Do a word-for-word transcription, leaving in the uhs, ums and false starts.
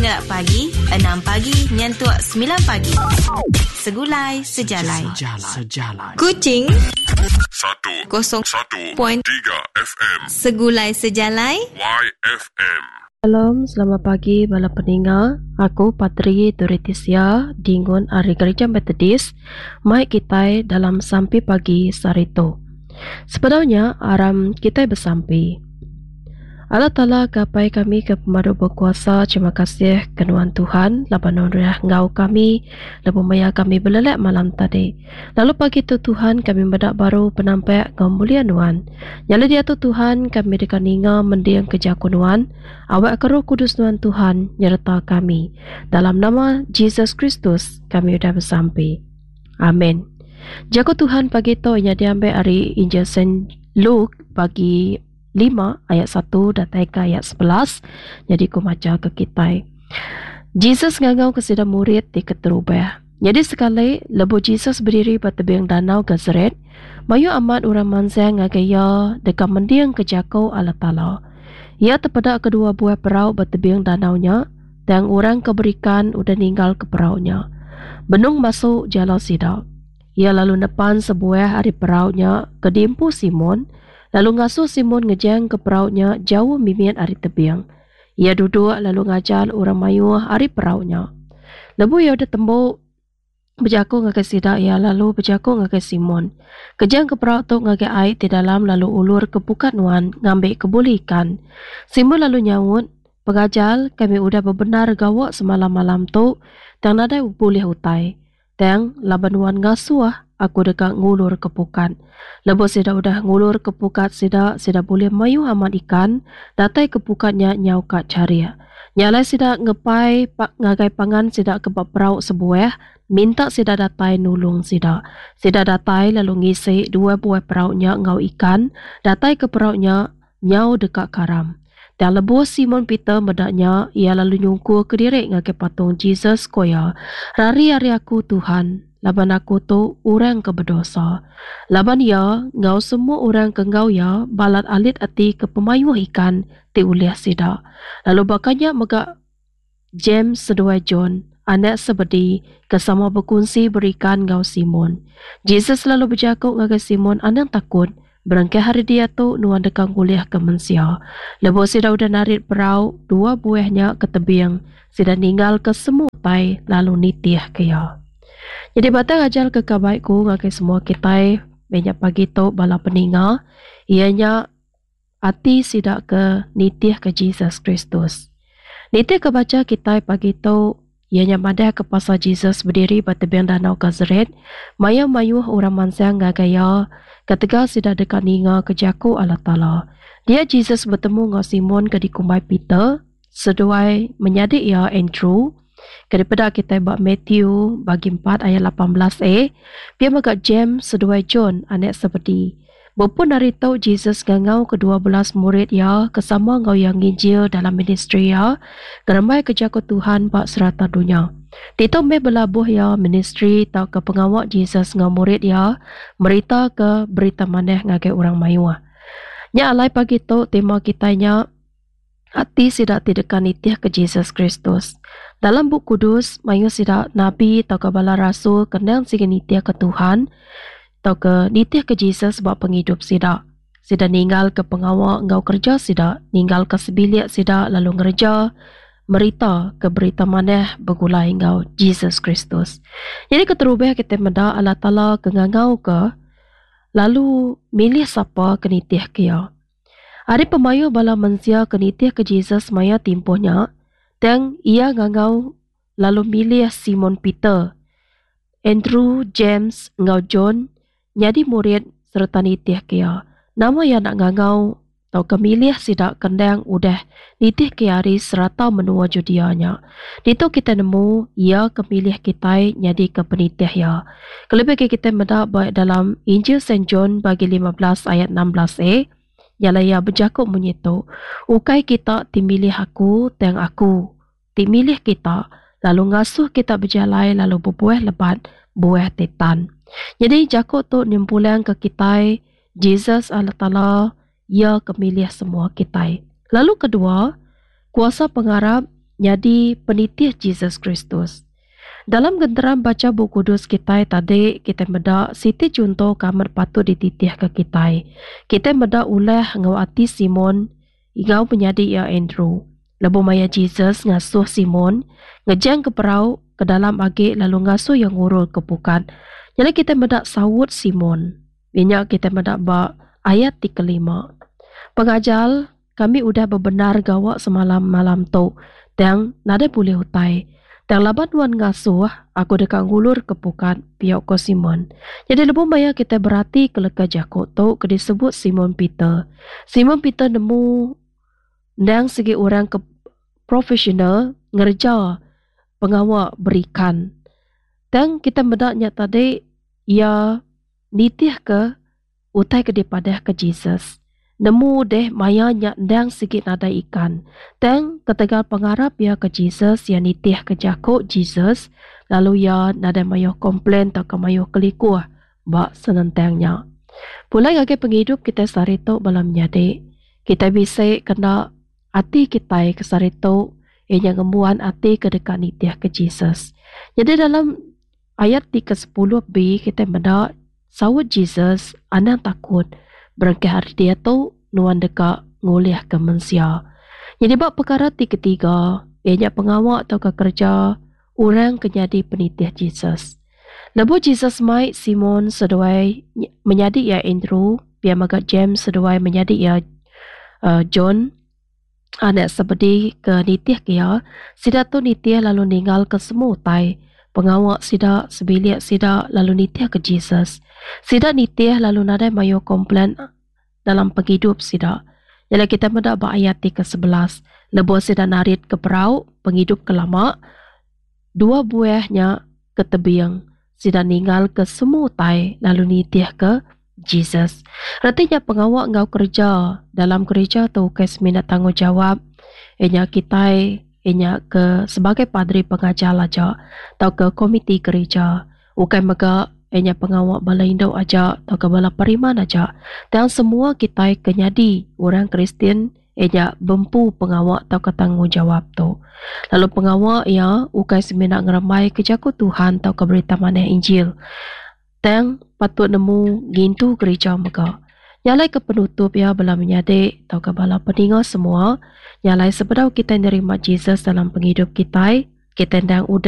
Kena pagi enam pagi nyentuk semilan pagi. Segulai Sejalai. Sejalai. Kuching Satu kosong Satu point Tiga F M Segulai Sejalai Y F M. Shalom, selamat pagi bala peninga. Aku Patri Turitisia Dingun ari Gereja Methodist. Mai kitai dalam sampi pagi saritu. Sebedaunya aram kitai besampi. Allah Taala ke Apai kami ke pemadu berkuasa, terima kasih ke nuan Tuhan laban nuan udah enggau kami lebuh maya kami belelak malam tadi. Lalu pagi tu Tuhan kami meda baru penampak enggau mulia nuan. Nyala diatu Tuhan kami deka ninga mending ke jaku nuan, awak ke Roh Kudus nuan Tuhan nyereta kami. Dalam nama Jesus Kristus kami udah besampi. Amin. Jaku Tuhan pagi tu nya diambil ari Injil Saint Luke bagi lima ayat satu datai ke ayat sebelas. Jadi ku maca ke kitai. Jesus ngangau ke sida murid ti keterubah. Jadi sekali lebuh Jesus berdiri ba tebing danau Gennesaret, mayuh amat orang mansang ngagai iya deka mending ke jaku Allah Taala. Iya tepeda kedua buah perau ba tebing danau nya, tang orang ke berikan udah ninggal ke perau nya. Benung masuk jala sida. Iya lalu nepan sebuah ari perau nya ke diempu Simon, lalu ngasuh Simon ngejang ke perau nya jauh mimit ari tebing. Iya duduk lalu ngajar orang mayuh ari perau nya. Lebuh iya udah tembu bejaku ngagai sida, iya lalu bejaku ngagai Simon, Kejang ke perau tu ngagai ai ti dalam lalu ulur ke pukat nuan ngambi ke bulih ikan. Simon lalu nyaut, Pengajar, kami udah bebenar gawa semalam-malam tu, tang nadai bulih utai. Tang laban nuan ngasuh, aku deka ngulur ke pukat. Lebuh sida udah ngulur ke pukat sida, sida bulih mayuh amat ikan, datai ke pukat nya nyau ka charik. Nya alai sida ngepai pa-, ngagai pangan sida ke ba perau sebuah, minta sida datai nulung sida. Sida datai lalu ngisi dua buah perau nya enggau ikan, datai ke perau nya nyau deka karam. Dan lebuh Simon Peter meda nya, ia lalu nyungkur ke diri ngagai patung Jesus, ko iya, Rari ari aku Tuhan, laban aku tu orang ke berdosa. Laban ia ngau semua orang ke enggau ia balat alit ati ke pemayuh ikan ti ulih sida. Lalu bakanya mega James seduai John, anak Zebedee, ke sama berkongsi berikan ngau Simon. Jesus lalu berjaku ngagai Simon, Anang takut, berengkah hari dia tu nuan deka ngulih ke mensia. Lebuh sida udah narit perau, dua buahnya ke tebing, sida ninggal ke semua utai lalu nitih ke iya. Jadi batang ajar ke kabaikku ngagai semua kitai banyak pagi tu bala peninga, ianya ati sida ke nitih ke Jesus Kristus. Nitih ke baca kitai pagi tu, ianya madah ke pasal Jesus berdiri ba tebing danau Gennesaret, mayuh-mayuh orang mansang ngagai iya, ketegal sida deka ninga ke jaku Allah Taala. Dia Jesus bertemu enggau Simon ke dikumbai Peter, seduai menyadi iya Andrew, ke dipeda kitai ba Matthew bagi empat ayat lapan belas A, pia mega James seduai John anak Zebedee. Berpun hari tu Jesus ngangau kedua belas murid iya ke sama enggau iya nginjil dalam ministri iya, ngerembai ke jaku Tuhan ba serata dunya. Ditu meh belabuh iya ministri tau ke pengawa Jesus enggau murid iya merita ke berita manah ngagai orang mayuh. Nya alai pagi tu tema kitai nya ati sida ti deka nitih ke Jesus Kristus. Dalam Bup Kudus, mayuh sida nabi tau ke bala rasul kendang sigi nitih ke Tuhan tau ke nitih ke Jesus ba pengidup sida. Sida ninggal ke pengawa enggau kerja sida, ninggal ke sebilik sida lalu ngereja merita ke berita manah begulai enggau Jesus Kristus. Jadi keterubah kita meda Allah Taala ke ngangau ke lalu milih sapa ke nitih ke iya. Ari pemayuh bala mensia ke nitih ke Jesus maya timpuhnya, tang ia ngangau lalu milih Simon Peter, Andrew, James enggau John nyadi murid sereta nitih ke iya. Nama iya nak ngangau tau ke milih sida kendang udah nitih ke ari serata menua Judea nya. Ditu kita nemu iya ke milih kitai nyadi ke penitih iya. Kelebih ke kita meda ba dalam Injil Saint John bagi lima belas ayat enam belas A, nyala iya bejaku munyi tu, Ukai kita ti milih aku, tang aku ti milih kita, lalu ngasuh kita berjalai lalu berbuah lebat, buah tetan. Jadi jaku tu nyempulang ke kitai, Jesus Allah Taala, ia ke milih semua kitai. Lalu kedua, kuasa pengarap nyadi penitih Jesus Kristus. Dalam genteran baca Bup Kudus kitai tadi, kitai meda siti chunto ke amat patut dititihka kitai. Kitai meda ulah enggau ati Simon enggau menyadi iya Andrew. Lebuh maya Jesus ngasuh Simon ngejangka perau ke dalam agi lalu ngasuh iya ngurulka pukat. Nyadi kitai meda saut Simon. Inya kitai meda ba ayat ti kelima. Pengajar, kami udah bebendar gawa semalam-malam tu, tang nadai bulih utai. Tang laban nuan ngasuh, aku deka ngulur ke pukat, pia ko Simon. Jadi lebuh maya kita berati ke leka jaku tu ke disebut Simon Peter. Simon Peter nemu ndang segi orang ke profesional ngereja pengawa berikan. Tang kita meda nya tadi ia nitih ke utai ke dipadah ke Jesus. Nemu deh maya nya ndang sigi nadai ikan. Tang ketegal pengarap ia ke Jesus, ia nitih ke jako Jesus, lalu ia nadai mayuh komplain atau ke mayuh kelikuh ba senentangnya. Pulai ngagai penghidup kita sehari tu bala menyadi. Kita bisa kena ati kita ke sehari tu ianya ngembuan ati ke dekat nitih ke Jesus. Jadi dalam ayat ti ke sepuluh B kita meda saut Jesus anang takut. Berengkah hari dia tu nuan deka ngulih ke mensia. Jadi bab perkara ti ketiga ianya pengawa atau ke kerja orang ke jadi penitih Jesus. Lebuh Jesus mai Simon seduai menyadi ia Andrew, pia mega James seduai menyadi ia uh, John, anak Zebedee ke nitih ke ia, sida tu nitih lalu ninggal ke semua utai. Pengawa sida, sebilik sida lalu nitih ke Jesus. Sida nitih lalu nadai mayu komplain dalam penghidup sida. Jadi kita meda ba ayat ti ke sebelas. Lebuh sida narit ke perau, penghidup ke lama, dua buahnya ke tebing. Sida ninggal ke semua utai lalu nitih ke Jesus. Artinya pengawa enggau kerja dalam gereja tu ke semina tanggungjawab ianya kita ianya ke sebagai padri pengajar aja atau ke komiti gereja. Ukai mega ianya pengawa bala indu aja atau ke bala periman aja. Dan semua kita ke nyadi orang Kristian ianya bempu pengawa atau ke tanggungjawab tu. Lalu pengawa ia ukai semina ngerembai ke jaku Tuhan atau ke berita manah Injil. Tang patut nemu ngintu gereja mega. Nyalai ke penutup ya bala menyadi atau ke bala peninga semua, nyalai sebedau kita nerima Jesus dalam penghidup kita, kita ndang udah